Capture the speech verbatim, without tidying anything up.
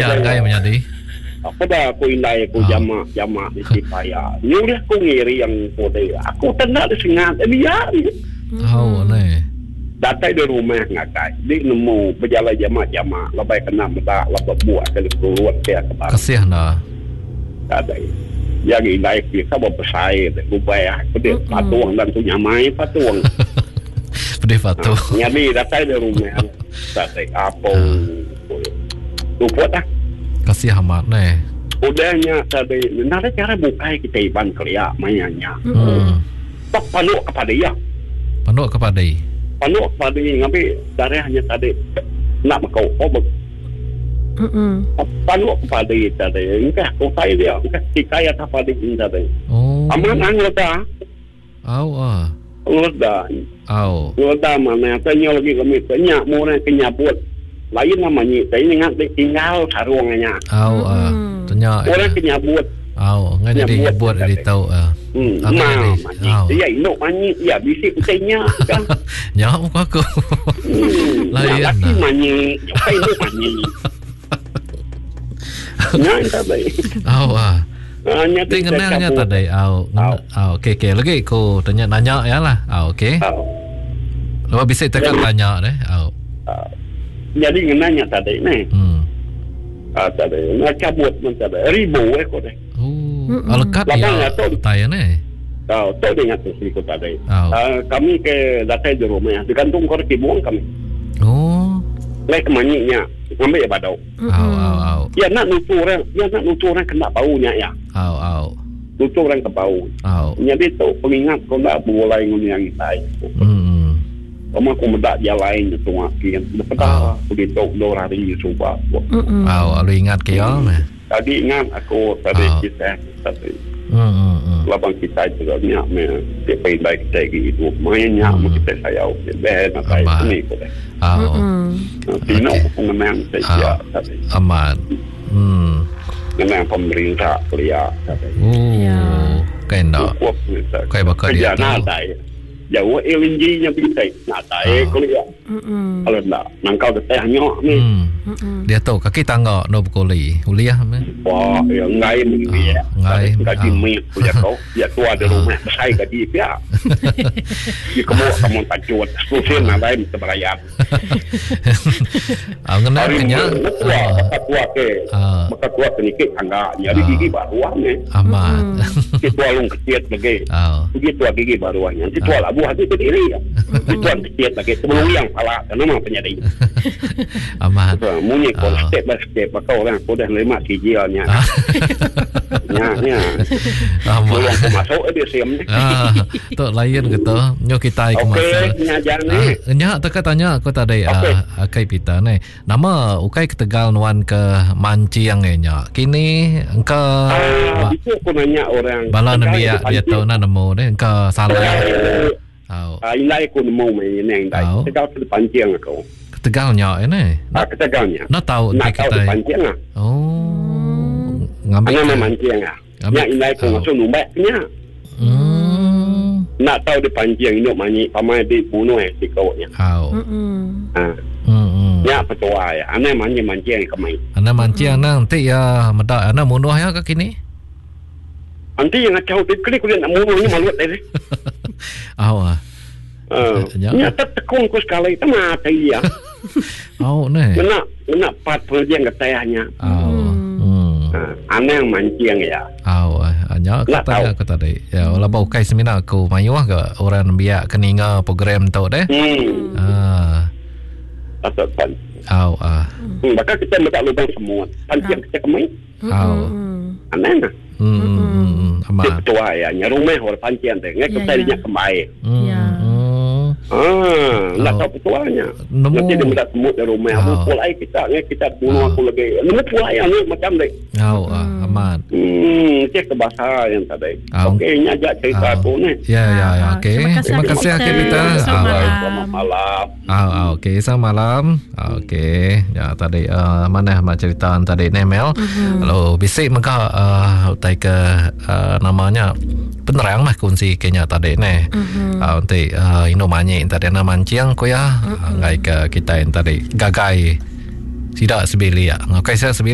Ya ngai menyadi. Apa dah aku indai aku jamak jamak di sipaya. Nyuruh aku ngiri yang kode. Aku tak nak disengat. Biar. Oh ne. Datai di rumah ngagai. Di nemu berjalan jamak-jamak. Lebih kena medak lebih buat kali turut ke ke baru. Kasih dah. Ada. Yang indai kita berbesar, gubah, pedih patung dan tu nyamai patung. Pedih patung. Jadi datai di rumah. Datai apa? Luput dah. Kasih amat ne. Udahnya tadi, nada cara bukai kita iban kelia mayanya. Hmm. Tok panduk kepada dia. Panduk kepada dia. Panduk kepada dia ngambil darahnya tadi nak makau oh. Mm-mm. Panduk kepada dia tadi. Engkah kutai dia, engkah tikai atas pada dia tadi. Oh. Aman ang leda. Au ah. Leda. Au. Leda mana tanya lagi kami tanya murah kenyabut. Lain namanya, saya ingat dia tinggal sarungnya. Au ah, tanya. Orang kenyabut. Au, ngai jadi nyabut dia tahu ah. Hmm, ma, dia induk manyi, ya bisik utainya kan. Nyak muka aku. Lain. Laki manyi, bukan induk manyi. Nyak tadi. Au ah. Ting kenalnya tadi. Au. Au, okey okey. Lagi aku tanya nanya ya lah. Au, okey. Lepas bisik tekan tanya deh. Au. Jadi ngenanya tadi ni. Hmm. Ah tadi nak cabut pun tadi ribu eh kau deh. Oh, alekat ya. Tai ni. Tahu, tahu dengan tu sih kau tadi. Ah kami ke datai di rumah, digantung kau kibuang kami. Oh. Lek manyinya, ngambil ya badau. Au au au. Ya nak nutu orang, ya nak nutu orang kena baunya ya. Au au. Nutu orang ke bau. Au. Jadi tu pengingat kau nak boleh nguni yang tai. Hmm. Kamu aku mendak jalan itu makin lepas begitu dua hari subah. Aw, lalu ingat ke ya meh. Tadi ingat aku tadi kita tadi. Hmm. Labang kita juga nyak me dia pandai kita gitu. Mainnya kita sayau dia nak tahu ni ko. Aw. Tino mengenang saya tadi. Aman. Hmm. Mengenang pemerintah kuliah tadi. Oh. Kain dak. Kai bakal dia. Jauh L N G nya bisa nak tahu kuliah. Kalau nak nangkau getah nyok ni. Dia tahu kaki tangga no berkoli. Uliah me. Wah, ya ngai ni ya. Ngai. Gaji mi punya kau. Ya tua di rumah besar gaji pia. Di kamu kamu tacut. Susin nak lain terbayar. Ah ngena kenya. Maka tua ke. Maka tua sedikit tangga. Jadi gigi baru ni. Amat. Tua lung kecil lagi. Gigi tua gigi baru ni. Nanti tua labu hati sendiri. Tuan kecil lagi sebelum yang pala nama penyadi. Amat. Munyi kau step by step maka orang aku dah nerima sijilnya. Nya nya. Amat. Masuk dia siam ni. Ah, tok lain gitu. Nyo kita ikut masuk. Okey, nya jangan ni. Nya teka tanya aku tadi ah kai pita ni. Nama ukai ke Tegal nuan ke mancing nya. Kini engka ah, itu aku nanya orang. Bala nembiak dia tahu nak nemu ni engka salah. Oh. Ah, indai aku nemu main ni indai. Tegal tu pancing aku. Tegalnya ini. Ah, Tegalnya. Nak tahu nak tahu pancing ah. Oh. Ngambil nama mancing ah. Nya indai aku masuk numbaknya. Hmm. Nak tahu dia pancing induk manyi pamai di bunuh eh si kau nya. Oh. Ah. Hmm. Nya petua ya. Ane mancing mancing kemai. Ane mancing nanti ya medak ane bunuh ya ke kini. Nanti yang ngacau tu klik kulit nak bunuh ni malu tadi. Oh ah. Uh, nya tekung ku sekali tu mati ya. Oh ne. Nak nak pat pengajian ketayahnya. Oh. Hmm. Aneh yang mancing ya. Oh, nya kata aku tadi. Ya, wala bau kai semina aku mayuh ke orang biak keninga program tu deh. Hmm. Ah. Asal pan. Oh ah. Hmm, bakal kita letak lubang semua. Pancing kita kemai. Oh. Aneh nah. Hmm. Amat. Tua ya, nya rumah orang pancing teh. Ngai kita nya kemai. Ya. Ah, nak tahu petuanya. Nanti dia minta semut dari rumah. Aku pulai kita, ni kita bunuh aku lagi. Nemu pulai ni macam ni. Oh, aman. Hmm, cek kebahasa yang tadi. Okey, ini aja cerita aku ni. Ya, ya, ya. Okey. Terima kasih okey kita. Selamat malam. Ah, okey, selamat malam. Okey. Ya, tadi mana mak cerita tadi ni Mel. Lalu bisik mega utai ke namanya penerang lah kunci kenya tadi ni. Nanti ino manyi tadi nak mancing ko ya. Ngai ke kita yang tadi gagai. Tidak sebilik. Okey, saya sebilik.